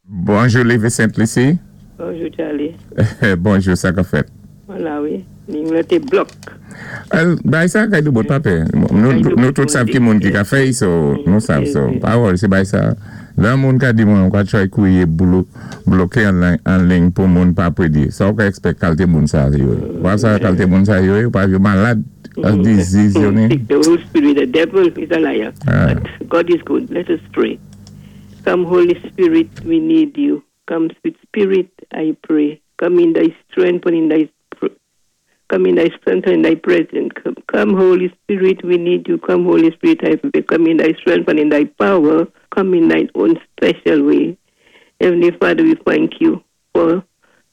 Bonjou, Lévé Sent-Lisi. Bonjou, Charlie. Bonjou, sa ka fèt? Mwen la, wi. Liy la té blòk. Well, bay sa kay dou bot pa pè. Nou tout sav ki moun ki ka fè'y, so nou sav so. Pa worry, sé bay sa. Lè moun ka di mwen, ou ka try kwéyé bloké an liy pou moun pa prédi. Sa ou ka expect kalté moun sa yo. Ou pa sa kalté moun sa yo, ou pa yo malad, a disease yo ni. The whole spirit, the devil is a liar. But God is good. Let us pray. Come, Holy Spirit, we need you. Come, sweet Spirit, I pray. Come in thy strength and in thy come in thy strength and in thy presence. Come, come, Holy Spirit, we need you. Come, Holy Spirit, I pray. Come in thy strength and in thy power. Come in thine own special way. Heavenly Father, we thank you for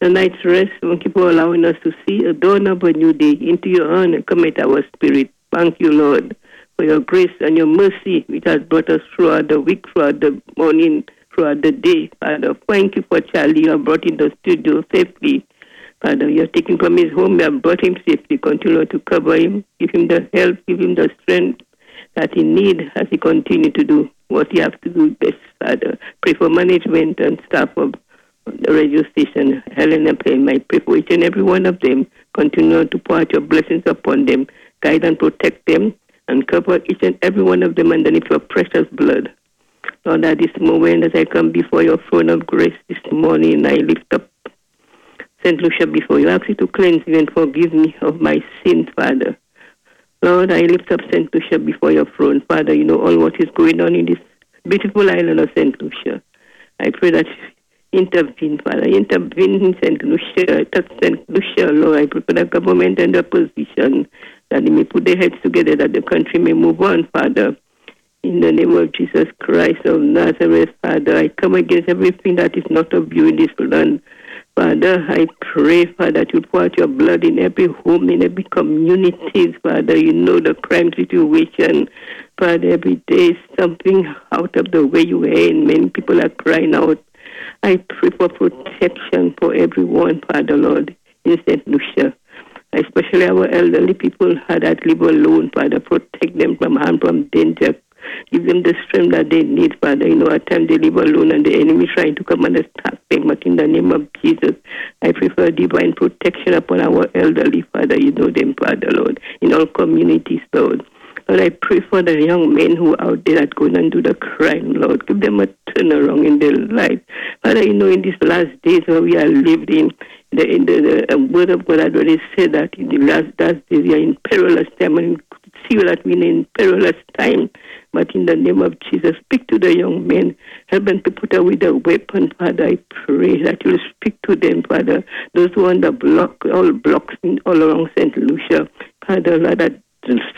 the night's rest. Thank you for allowing us to see a dawn of a new day. Into your hand and commit our spirit. Thank you, Lord, for your grace and your mercy, which has brought us throughout the week, throughout the morning, throughout the day. Father, thank you for Charlie. You have brought in the studio safely. Father, you have taken from his home, you have brought him safely. Continue to cover him, give him the help, give him the strength that he needs as he continue to do what he has to do best, Father. Pray for management and staff of the radio station, Helen and Pam. I pray for each and every one of them. Continue to pour out your blessings upon them, guide and protect them, and cover each and every one of them underneath your precious blood. Lord, at this moment as I come before your throne of grace this morning, I lift up St. Lucia before you. I ask you to cleanse me and forgive me of my sins, Father. Lord, I lift up St. Lucia before your throne. Father, you know all what is going on in this beautiful island of St. Lucia. I pray that you intervene, Father. Intervene in St. Lucia. Touch St. Lucia, Lord. I pray for the government and the opposition that they may put their heads together, that the country may move on, Father. In the name of Jesus Christ of Nazareth, Father, I come against everything that is not of you in this land. Father, I pray, Father, that you pour out your blood in every home, in every community, Father. You know the crime situation. Father, every day something out of the way you are in. Many people are crying out. I pray for protection for everyone, Father, Lord, in St. Lucia. Especially our elderly people that live alone, Father. Protect them from harm, from danger. Give them the strength that they need, Father. You know, at times they live alone and the enemy trying to come and attack them. But in the name of Jesus, I prefer divine protection upon our elderly, Father. You know them, Father, Lord, in all communities, Lord. Lord, I pray for the young men who are out there that go and do the crime, Lord. Give them a turnaround in their life. Father, you know, in these last days where we are living, the word of God had already said that in the last days we are in perilous time, and see that we are in perilous time. But in the name of Jesus, speak to the young men. Help them to put away the weapon, Father. I pray that you will speak to them, Father. Those who are on the block, all blocks in, all around St. Lucia, Father, Lord, that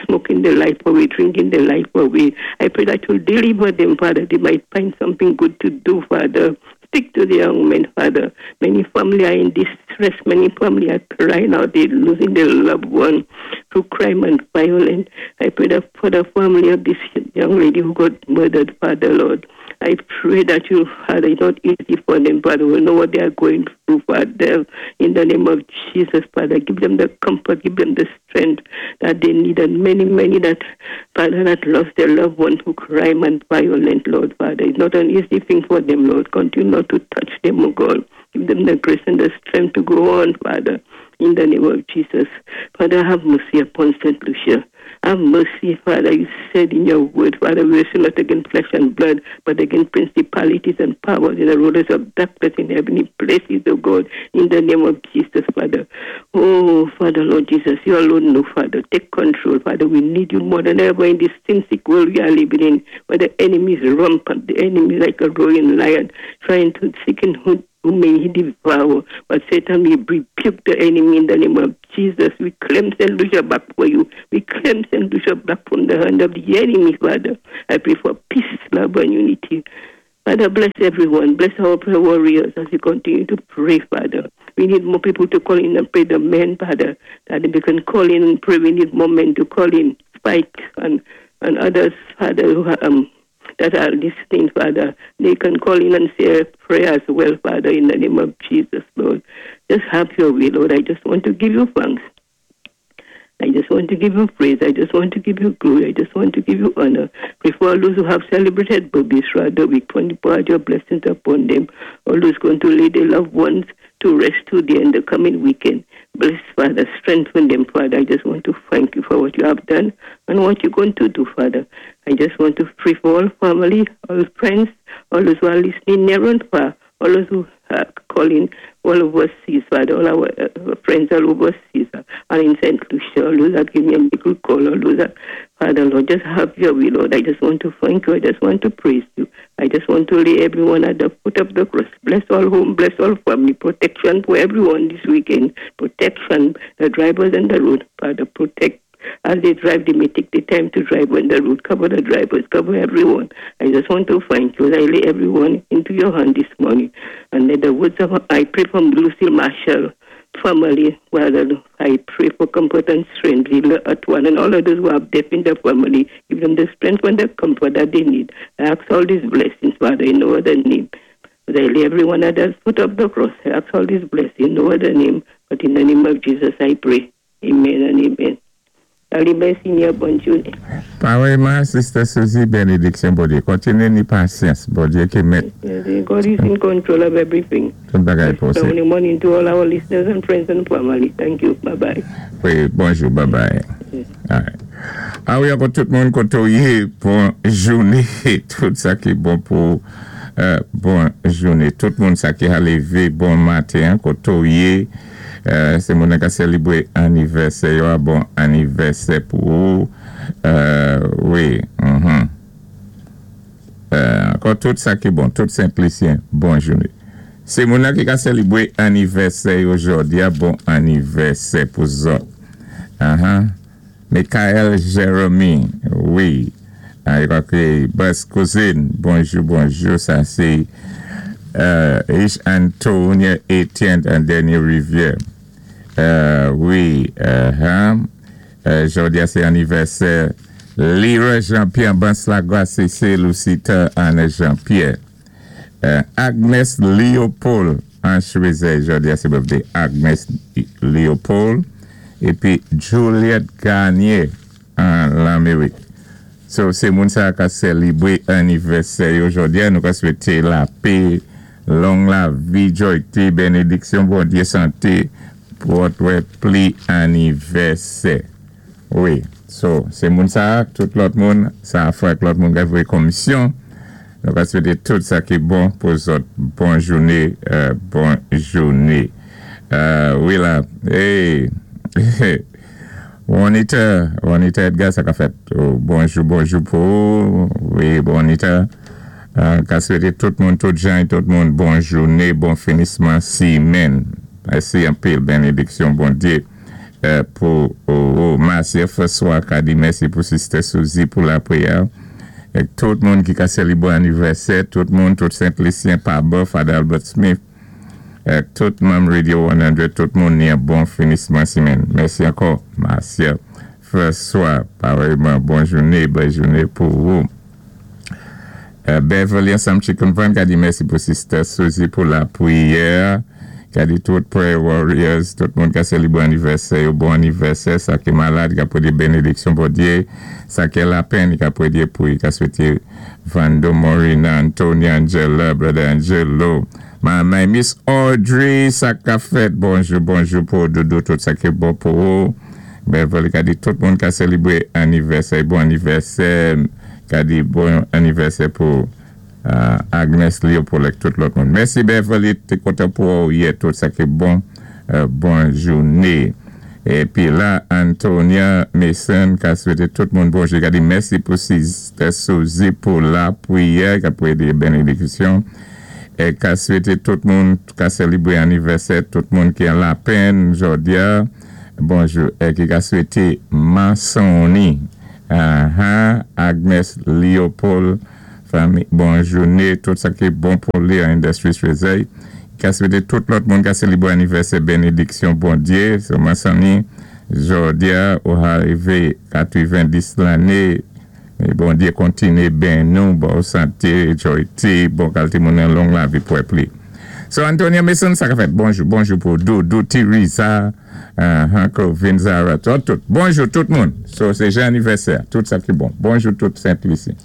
smoking the life away, drinking the life away. I pray that you'll deliver them, Father. They might find something good to do, Father. Speak to the young men, Father. Many families are in distress. Many families are crying out. They're losing their loved one through crime and violence. I pray that for the family of this young lady who got murdered, Father, Lord. I pray that you, Father, it's not easy for them, Father. We know what they are going through, Father. In the name of Jesus, Father, give them the comfort, give them the strength that they need. And many, many that, Father, that lost their loved one through crime and violence, Lord, Father. It's not an easy thing for them, Lord. Continue not to touch them, oh God. Give them the grace and the strength to go on, Father. In the name of Jesus. Father, have mercy upon St. Lucia. Have mercy, Father. You said in your word, Father, we wrestle not against flesh and blood, but against principalities and powers and the rulers of darkness in heavenly places, oh God, in the name of Jesus, Father. Oh, Father, Lord Jesus, you alone know, Father. Take control, Father. We need you more than ever in this sin-sick world we are living in, where the enemy is rampant, the enemy is like a roaring lion, trying to seek and who may he devour. But Satan, we rebuke the enemy in the name of Jesus. We claim St. Lucia back for you. We claim St. Lucia back from the hand of the enemy, Father. I pray for peace, love, and unity. Father, bless everyone. Bless our prayer warriors as we continue to pray, Father. We need more people to call in and pray, the men, Father, that they can call in and pray. We need more men to call in, Spike and others, Father, who are, that are listening, Father. They can call in and say a prayer as well, Father, in the name of Jesus, Lord. Just have your way, Lord. I just want to give you thanks. I just want to give you praise. I just want to give you glory. I just want to give you honor. Pray for all those who have celebrated birthdays throughout the week. Pour out your blessings upon them. All those going to lay their loved ones to rest today and the coming weekend. Bless, Father. Strengthen them, Father. I just want to thank you for what you have done and what you're going to do, Father. I just want to pray for all family, all friends, all those who are listening near and far, all those who are calling all overseas, Father, all our friends all overseas and in St. Lucia, all those that give me a little call, all those that, Father, Lord, just have your will, Lord. I just want to thank you. I just want to praise you. I just want to lay everyone at the foot of the cross. Bless all home, bless all family, protection for everyone this weekend. Protection, the drivers and the road, Father, protect. As they drive, they may take the time to drive on the road. Cover the drivers, cover everyone. I just want to thank you. I lay everyone into your hand this morning. And let the words of I pray for Lucille Marshall family. Father, I pray for comfort and strength. At one and all others who have death in the family. Give them the strength and the comfort that they need. I ask all these blessings, Father, in no other name. But I lay everyone at the foot of the cross. I ask all these blessings in no other name. But in the name of Jesus, I pray. Amen and amen. Allez, merci, bonne journée. Pareillement, Sister Susie, bénédiction, bon Dieu. Continuez ni patience, bon Dieu, qui met. God is in control of everything. Tout bagay posé. Good morning to all our listeners and friends and family. Thank you. Bye-bye. Wi, bonjou, bye-bye. All right. Ah wi, ankò tout moun koté ou yé, bon jouné, tout sa ki bon pou bon jouné. Tout moun sa ki a lévé bon maten, koté ou yé, sé moun ki sélébré anivèsè, bon anivèsè pou ou. Wi. Ankò tout sa ki bon, tout Sent Lisyen, bon jouné. Sé moun ki a sélébré anivèsè jòdi a, bon anivèsè pou zòt. Michael Jeremy, wi. Ah, Bas Cousine, bonjou, bonjou. Sa sé H. Antonia Etienne en Dernière Rivière. Wi. Jòdi a, sé anivèsè Lyra Jean-Pierre Banslagua, c'est Lucita Anna Jean-Pierre. Agnes Léopold en Choisey, jòdi a, sé birthday Agnes Léopold. Épi Juliette Garnier an Lamérik. So, sé moun sa ka sélébré anivèsè jòdi a, nou ka swété lapè, long lavi, jwa, bénédiksyon, Bondyé, santé pou wè plis anivèsè. Wi, so, sé moun sa, tout lòt moun, sa fwa lòt moun ka vwé komisyon. Nou ka swété tout sa ki bon pou zòt. Bon jouné, bon jouné. Wi la, hey, Juanita, Juanita Edgar, sa ka fèt. Oh, bonjou, bonjou pou ou. Wi, Juanita. Ka swété tout moun, tout jan, tout moun, bon jouné, bon finisman simenn. Mèsi anpil, bénédiksyon, Bondyé. Pou oh, Marcia François ka di mèsi pou Sister Suzy pou lapriyè. É tout moun ki ka sélébré anivèsè, tout moun, tout Sent Lisyen, Paba, Father Albert Smith, é tout manm Radio 100, tout moun, ni bon finisman simenn. Mèsi ankò, Marcia François. Pareillement, bonne journée, bonne journée pou ou. Beverly ansanm Chicken Van ka di mèsi pou Sister Suzy pou lapriyè. Ka di tout prayer warriors, tout moun ka sélébré anivèsè, bon anivèsè, sa ki malad, ka pwédé bénédiksyon Bondyé, sa ki lapenn, ka pwédé pou, ka swété Vando Morina, Antonia Angela, Brother Angelo, my Miss Audrey, sa ka fèt, bonjou, bonjou pou Doudou, tout sa ki bon pou ou. Beverly ka di tout moun ka sélébré anivèsè, bon anivèsè, ka di bon anivèsè pou Agnes Léopold ak tout lòt moun. Mèsi Beverly, té kontan pou ou yè, tout sa ki bon, bon jouné. Épi la, Antonia Mason ka swété tout moun bonjou. Ka di mèsi pou Sister Suzy pou lapriyè, ka pwédé bénédiksyon. É ka swété tout moun ka sélébré anivèsè, tout moun ki an lapenn jòdi a. Bonjou. É ki ka swété Mansoni. Agnes Léopold, fanmi, bon jouné, tout sa ki bon pou li an Industries Choisy. Ka swété tout lòt moun ka sélébré anivèsè bénédiksyon Bondyé, so Mansoni, jòdi a, ou arivé 90 lanné, é Bondyé kontiné beni nou, bon santé, jwa, bon kalité moun an long lavi pou plis. So Antonia Mason, sa ka fèt. Bonjou, bonjou pou Doudou, Teresa, Clovin, Zara, tout, tout. Bonjou tout moun. So sé jou anivèsè, tout sa ki bon. Bonjou tout Sent Lisi.